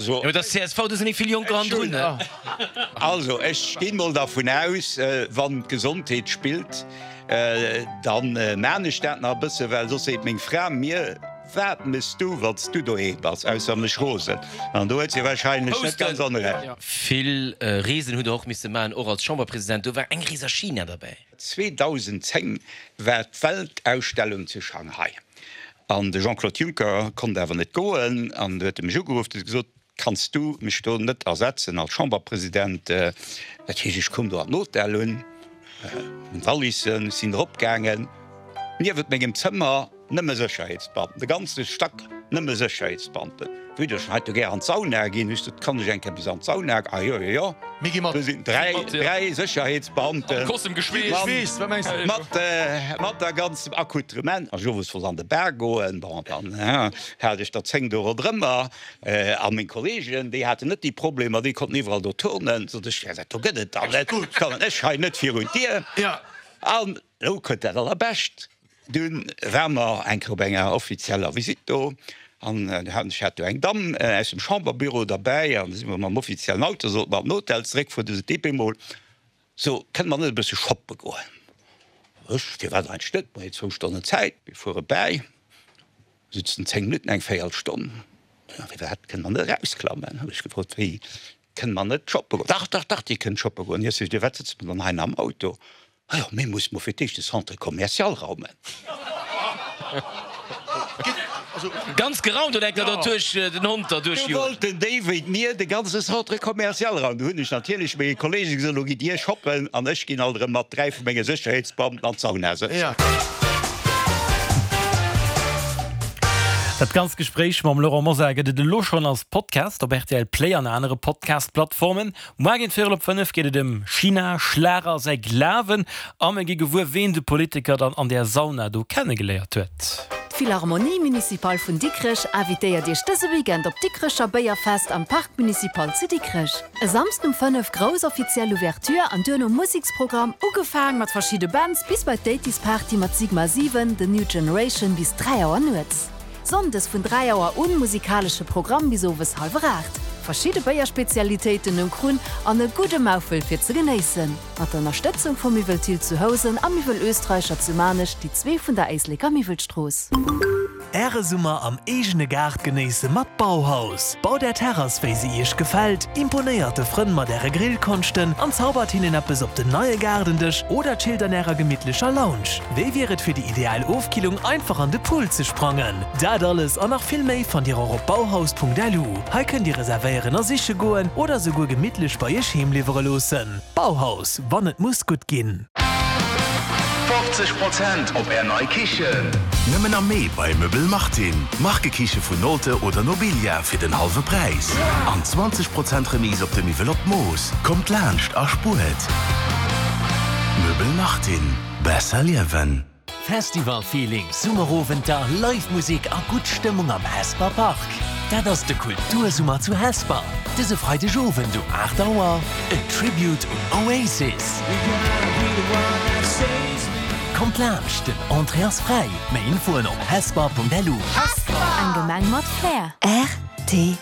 Jo, et ass csv, do sinn méi vill Jonker hannendrun, ne? Also, ech ginn mol dervun aus, wann d'Gesondheet spillt, dann maan ech dat nach e bësse, well soss seet meng Fra mir, Wat mëss du, wann s du doheem bass, ausser mech rosen? An do huet si wahrscheinlech net ganz onrecht. Vill Reesen hutt Der och misse maachen, och als Chamberpresident. Do war eng Rees a China derbäi. 2010 war d'Weltausstellung zu Shanghai an de Jean-Claude Juncker konnt awer net goen an du huet e mech ugeruff, huet gesot, Kanns du mech do net ersetzen als Chamberpresident? Dat heescht, ech koum do an den Hotel, hunn meng Valissen, sinn eropgaangen, niewent mengem Zëmmer Nëmme Sécherheetsbeamten, de ganze Stack nëmme Sécherheetsbeamten. Wéi ech hei do gär an d'Sauna ginn, hu ech gesot, kann ech eng Kéier bis an d'Sauna? Ah jo, jo, jo. Mir gi mat. Do sinn 3, 3 Sécherheetsbeamten. Mat, mat der ganzem Accoutrement. An ech owes wollt an de Bar goen, bon, dann hat ech der 10 do ronderëmmer. A meng Kollegen, déi haten net déi Problemer, déi konnten iwwerall do turnen. Sot ech, dat do gëtt et dann net, kommen ech hei net virun d'Dier. An elo kënnt dat Allerbescht. Dunn ware mer eng Kéier op enger offizieller Visitt do an ech hat do eng Damm aus dem Chamberbüro derbäi an da si mer mam offiziellen Auto, sollte mer an den Hotel zeréckfueren, du sot déi op eemol, So, kënne mer net e bësse shoppe goen? Ech, Firwat eigentlech net, mer hunn zwou Stonnen Zäit, mir fuere bäi, sutzen 10 Minutten, eng Véierelstonn, firwat kënne mer net erausklammen? Hu ech gefrot, wéi, kënne mer net shoppe goen? Dach, dach, dach, Dir kënnt shoppe goen. Ech sot, Firwat sëtze mer dann hei am Auto? Ah jo, mir musse mol fir d'éischt de Centre commercial raumen. Ganz geraumt oder enker derduerch den Hond derduerch Do joen? wollten déi wéi mir de ganze Centre commercial raumen. Do hunn ech natierlech menge Kollege gesot, Elo gitt Dir shoppen an ech ginn alt erëm mat 3 vu menge Sécherheetsbeamten an d'Sauna sëtzen. Dat ganzt Gespréich mam Laurent Mosar gëtt et elo schonn als Podcast op rtl Play an anere Podcast-Plattformen. Moar géint véierel op 5 geet et ëm China, Schlager, säi Glawen a mir gi gewuer, ween de Politiker dann an där Sauna do kennegeléiert huet. D'Philharmonie Municipale vun Dikrech invitéiert Iech dëse Weekend op d'Dikrecher Béierfest am Parc Municipal zu Dikrech. E Samsden um 5 grouss offiziell Ouverture an duerno Museksprogramm, ugefaang mat verschidde Bands bis bei d'Eighties Party mat Sigma 7, The New Generation bis 3 Auer nuets. Sonndes vun 3 Auer un musikalesche Programm bis owes halwer 8. Verschidde Béierspezialitéiten um Krunn an e gudde Maufel fir ze genéissen. Mat der Ënnerstëtzung vu Miwwel Thill zu Housen a Miwwel Oestreicher zu Maarnech, déi zwee vun der Éisleker Miwwelstrooss. Äre Summer am eegene Gaart genéisse mat Bauhaus. Baut Är Terrass wéi se Iech gefält, imponéiert de Frënn mat Äre Grillkonschten an zaubert hinnen eppes op den neie Gaardendësch oder chillt an Ärer gemittlecher Lounge. Wéi wier et fir déi ideal Ofkillung einfach an de Pool ze sprangen? Dat alles an nach vill méi fannt Dir och op bauhaus.lu. Hei kënnt Dir reservéieren a siche goen oder souguer gemittlech bei Iech heem liwwere loossen. Bauhaus, wann et muss gutt ginn. 50 Prozent op Är nei Kichen! Nëmmen am Mee bei Möbel Martin. Markekiche vun Nolte oder Nobilia fir den hallwe Präis an 20 Prozent Remise op de Miwwel op d'Mooss. Kommt laanscht a spuert! Möbel Martin. Besser liewen! Festival-Feeling, Summerowenter, Live Musek a gutt Stëmmung am Hesper Park. Dat ass de Kultursummer zu Hesper. Dëse Freideg Owend um 8 Auer en Tribute un Oasis. Kommt laanscht, den Entrée ass fräi. Méi Infoen op hesper.lu. Eng Gemeng mat Flair. Rtl.